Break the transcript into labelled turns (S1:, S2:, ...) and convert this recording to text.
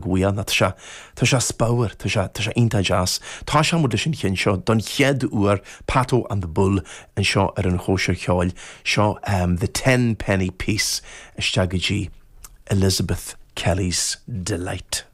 S1: Bhuel, tá sé, tá sé spiormhar, tá sé, tá sé iontach deas. Tosóidh muid leis an cheann seo don chéad uair, Patto and the Bull anseo ar an Chóisir Cheoil. Seo The Ten Penny Piece isteach go dtí Elizabeth Kelly's Delight.